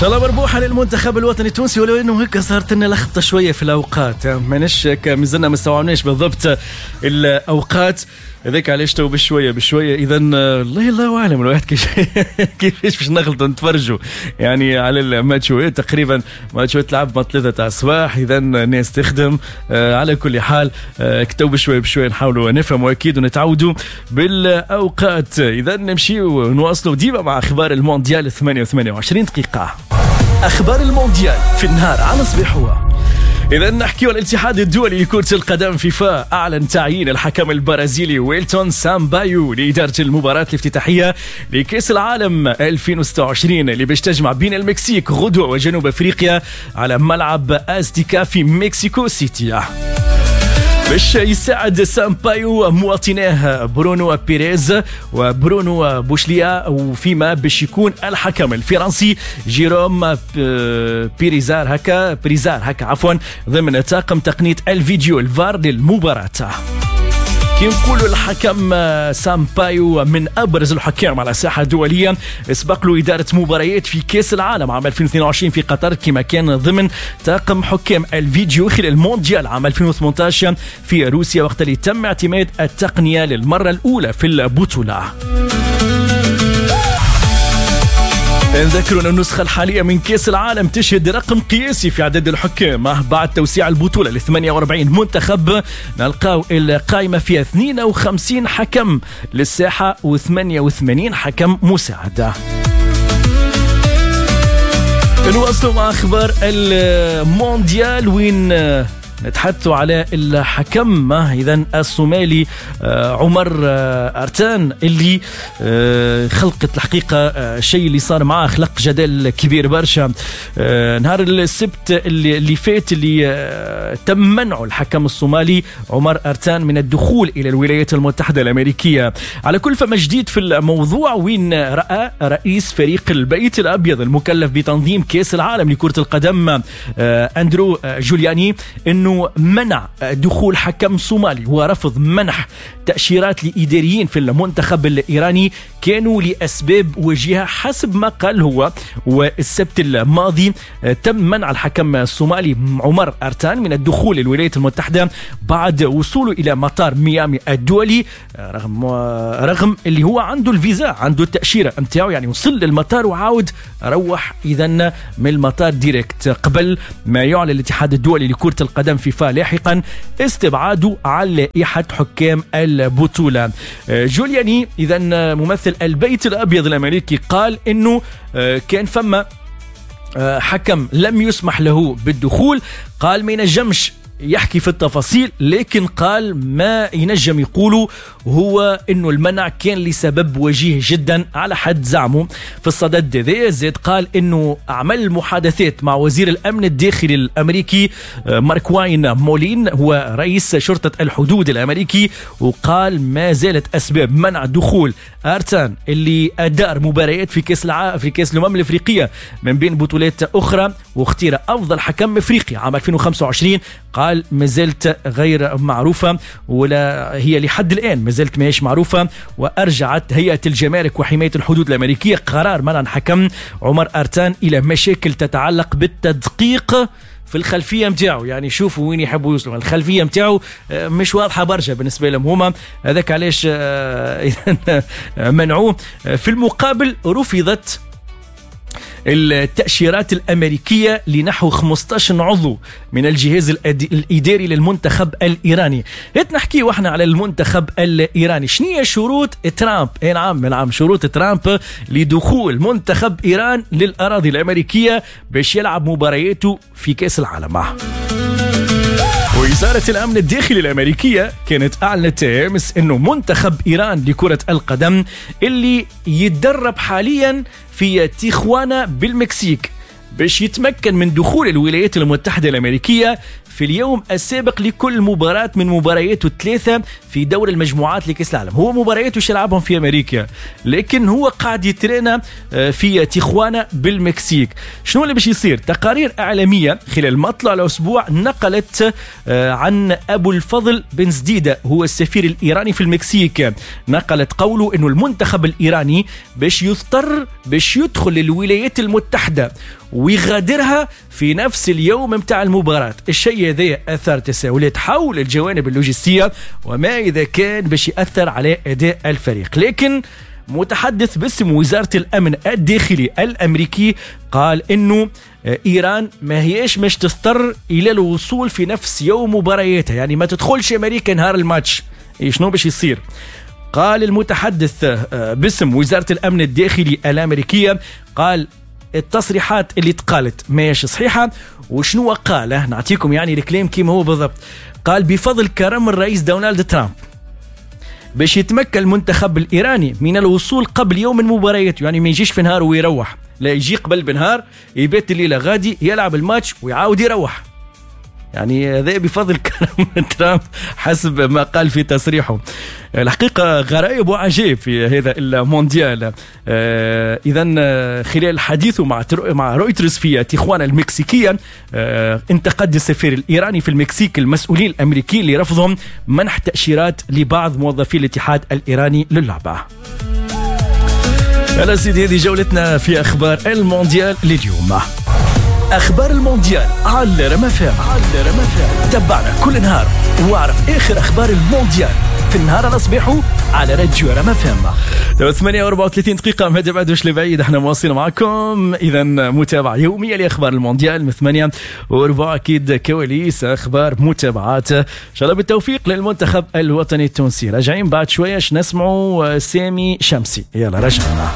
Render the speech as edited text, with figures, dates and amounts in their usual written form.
شاء الله مربوحه للمنتخب الوطني التونسي، ولو انه هيك صارت لنا لخبطة شوية في الاوقات، ماناش مازلنا ما استوعبناش بالضبط الاوقات، هذاك علاش تو بشوية بشوية. اذا الله الله اعلم الواحد كيفاش باش نغلطوا نتفرجوا يعني على الماتشوات، تقريبا ماتشوات تلعب مع 3 تاع الصباح، اذا الناس تخدم. على كل حال كتو بشوية بشوية نحاولوا نفهموا اكيد ونتعودوا بالاوقات. اذا نمشيو ونواصلوا ديما مع اخبار المونديال 8:28 دقيقة. اخبار المونديال في النهار على صبيحوه. إذا نحكي الاتحاد الدولي لكرة القدم فيفا أعلن تعيين الحكم البرازيلي ويلتون سامبايو لإدارة المباراة الافتتاحية لكأس العالم 2026 اللي باش تجمع بين المكسيك غدوة وجنوب أفريقيا على ملعب أزتيكا في مكسيكو سيتي. باش يساعد سامبايو مواطناه برونو بيريز وبرونو بوشليا، وفيما باش يكون الحكم الفرنسي جيروم بيريزار هكا بريزار هكا عفوا ضمن طاقم تقنية الفيديو الفار للمباراة. كي نقولوا الحكم سامبايو من ابرز الحكام على الساحة الدولية، سبق له ادارة مباريات في كاس العالم عام 2022 في قطر، كما كان ضمن طاقم حكام الفيديو خلال المونديال عام 2018 في روسيا، وقت اللي تم اعتماد التقنية للمرة الاولى في البطولة. نذكر أن النسخة الحالية من كأس العالم تشهد رقم قياسي في عدد الحكام بعد توسيع البطولة ل 48 منتخب، نلقاو القائمة فيها 52 حكم للساحة و88 حكم مساعدة. نواصلوا مع أخبار المونديال وين نتحدثوا على الحكم اذا الصومالي عمر ارتان اللي خلقت الحقيقة الشيء اللي صار معاه خلق جدل كبير برشا. نهار السبت اللي فات اللي تم منع الحكم الصومالي عمر ارتان من الدخول الى الولايات المتحدة الامريكية. على كل فما جديد في الموضوع وين راى رئيس فريق البيت الابيض المكلف بتنظيم كاس العالم لكرة القدم اندرو جولياني انه منع دخول حكم صومالي ورفض منح تأشيرات لإداريين في المنتخب الإيراني كانوا لأسباب وجيهة حسب ما قال هو. والسبت الماضي تم منع الحكم الصومالي عمر أرتان من الدخول للولايات المتحدة بعد وصوله إلى مطار ميامي الدولي، رغم اللي هو عنده الفيزا، عنده التأشيرة متاعه، يعني وصل للمطار وعاود روح إذن من المطار direct قبل ما يعلن الاتحاد الدولي لكرة القدم فيفا لاحقا استبعاده على لائحة حكام البطولة. جولياني إذا ممثل البيت الأبيض الأمريكي قال إنه كان فما حكم لم يسمح له بالدخول، قال ما ينجمش يحكي في التفاصيل، لكن قال ما ينجم يقوله هو انه المنع كان لسبب وجيه جدا على حد زعمه. في الصدد ذا زاد قال انه عمل محادثات مع وزير الامن الداخلي الامريكي مارك واين مولين، هو رئيس شرطة الحدود الامريكي، وقال ما زالت اسباب منع دخول ارتان اللي ادار مباريات في كاس في كاس الامم الافريقية من بين بطولات اخرى واختير افضل حكم افريقي عام 2025، قال ما زالت غير معروفة، ولا هي لحد الآن ما زالت ماهيش معروفة. وأرجعت هيئة الجمارك وحماية الحدود الأمريكية قرار منع الحكم عمر أرتان إلى مشاكل تتعلق بالتدقيق في الخلفية متاعه، يعني شوفوا وين يحبوا يوصلوا، الخلفية متاعه مش واضحة برشا بالنسبة لهم هما، هذاك علاش منعوه. في المقابل رفضت التأشيرات الأمريكية لنحو 15 عضو من الجهاز الإداري للمنتخب الإيراني. هات نحكي واحنا على المنتخب الإيراني، شنية شروط ترامب؟ اي نعم نعم، شروط ترامب لدخول منتخب إيران للأراضي الأمريكية باش يلعب مبارياته في كأس العالم. وزارة الأمن الداخلي الأمريكية كانت أعلنت أمس أنه منتخب إيران لكرة القدم اللي يتدرب حاليا في تيخوانا بالمكسيك باش يتمكن من دخول الولايات المتحدة الأمريكية في اليوم السابق لكل مباراة من مبارياته الثلاثة في دور المجموعات لكأس العالم. هو مبارياته يلعبهم في أمريكا، لكن هو قاعد يترينا في تيخوانا بالمكسيك. شنو اللي باش يصير؟ تقارير إعلامية خلال مطلع الأسبوع نقلت عن أبو الفضل بن زديدة، هو السفير الإيراني في المكسيك، نقلت قوله أنه المنتخب الإيراني باش يضطر باش يدخل الولايات المتحدة ويغادرها في نفس اليوم متاع المباراة. الشيء هذا أثار تساؤلات حول الجوانب اللوجستية وما إذا كان باش يأثر على أداء الفريق. لكن متحدث باسم وزارة الأمن الداخلي الأمريكي قال إنه إيران ما هيش مش تضطر إلى الوصول في نفس يوم مبارياتها، يعني ما تدخلش أمريكا نهار الماتش. شنو باش يصير؟ قال المتحدث باسم وزارة الأمن الداخلي الأمريكية، قال التصريحات اللي تقالت ماهيش صحيحة. وشنو قال؟ نعطيكم يعني الكلام كيما هو بالضبط. قال بفضل كرم الرئيس دونالد ترامب باش يتمكن المنتخب الإيراني من الوصول قبل يوم المباريات، يعني ما يجيش في نهار ويروح، لا يجي قبل بنهار، يبات الليلة غادي، يلعب الماتش ويعاود يروح. يعني هذا بفضل كرم ترامب حسب ما قال في تصريحه. الحقيقة غرائب وعجيب في هذا المونديال. إذا خلال حديثه مع رويترز في تيخوانا المكسيكية، انتقد السفير الإيراني في المكسيك المسؤولين الأمريكيين لرفضهم منح تأشيرات لبعض موظفي الاتحاد الإيراني للعبة. يلا سيدي، هذه جولتنا في أخبار المونديال لليوم. أخبار المونديال على رما فام. تبعنا كل نهار واعرف آخر أخبار المونديال في النهار على صباحه على راديو رما فام. 8:34 دقيقة، ما تبعدوش لبعيد، احنا مواصلين معكم. إذا متابعة يومية لأخبار المونديال من 8:15، أكيد كواليس، أخبار، متابعات. إن شاء الله بالتوفيق للمنتخب الوطني التونسي. راجعين بعد شوية نسمعوا سامي شمسي. يلا رجعنا.